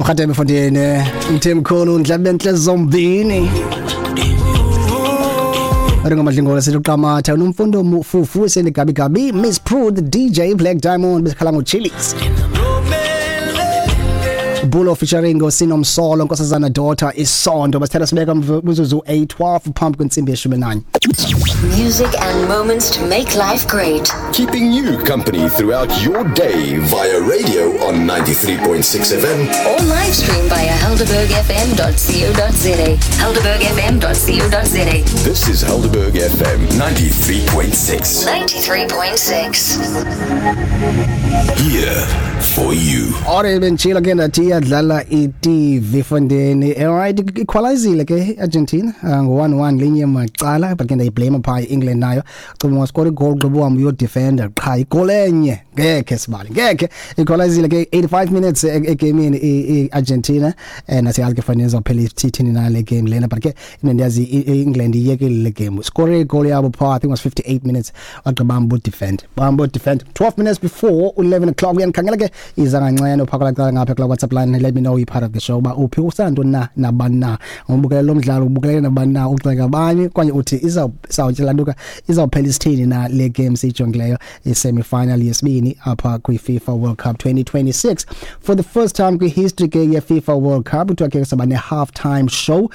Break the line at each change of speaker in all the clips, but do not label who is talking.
Mkhatebe mfondini, Mthemkhulu ndlabentle zombini. Ringo Madlingola sithi uqamatha unomfundo fufu sendigabi gabi Miss Pru the DJ Black Diamond besikhala ngoChili's. Bulo featuring Sinomsolo Nkosazana Daughter isondo basithela sibeka mzuzu 8:12 phambi kwentsimbi ye-11.
Music and moments to make life great.
Keeping you company throughout your day via radio on 93.6 FM.
Or live stream via helderbergfm.co.za. Helderbergfm.co.za.
This is Helderberg FM 93.6.
93.6.
Here for you.
Ore bentshilo ke ndathi iyadlala i-TV fondeni. Alright, equalizile ke Argentina ngo-1-1 linye macala, but ke ndayiblame phaa i-England nayo. Cuma wascore igoal gqiba uhambe uyodefenda qha igol enye ngekhe sibali ngekhe equalizile ke 85 minutes egamini i-Argentina, nasiyazi ke fondeni izawuphela ithini na le game lena, but ke into endiyazi i-England iyekile le game, score igoal yabo phaa, I think it was 58 minutes, wagqiba bambo defend 12 minutes before 11 o'clock. Uyandikhangela ke iza kancane phakala cala ngapha kula WhatsApp line. Let me know you part of the show uba uphi, usantoni na, nabani na ubukele lo mdlalo, ubukele nabani na, uxeka abanye okanye uthi izawutyela izawuphela isithini na le game siyijongileyo, i-semi-final yesibini apha kwi-FIFA World Cup 2026. For the first time kwi-history ke ye-FIFA World Cup, kuthiwa ke saba ne-half time show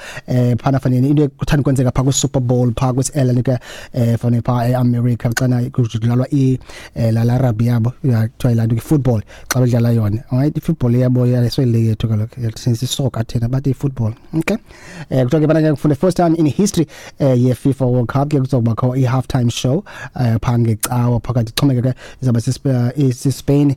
phana fanele into ekuthanda kwenzeka phaa kwi-Super Bowl phaa kwisi-ellen ke fanele phaa e-America xana kudlalwa la rugby yabo kuthiwa yilaa nto i-football xa bedlala yona. Alright, i-football yabo yasoyile yethu kaloku sisoka thina, bathi i-football. Okay, kuthiwa ke bana for the first time in history ye-FIFA World Cup ke kuzobakho i-half time show phaa ngecawa phakathi, xhomekeke izawuba siSpain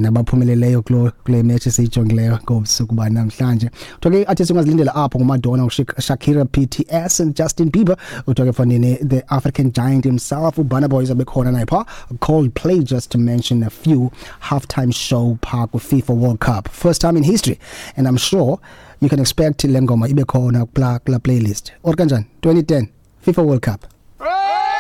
nabaphumeleleyo kule match esiyijongileyo ngobusuku banamhlanje. Kuthiwa ke i-artist ungazilindela apho nguMadonna, Shakira, BTS and Justin Bieber. Kuthiwa ke fanele the African giant himself uBurna Boy izabe khona naye phaa, Coldplay, just to mention a few. Halftime show phaa kwi-FIFA World Cup, first time in history, and I'm sure you can expect le ngoma ibe khona kula playlist or kanjani. 2010 FIFA World Cup.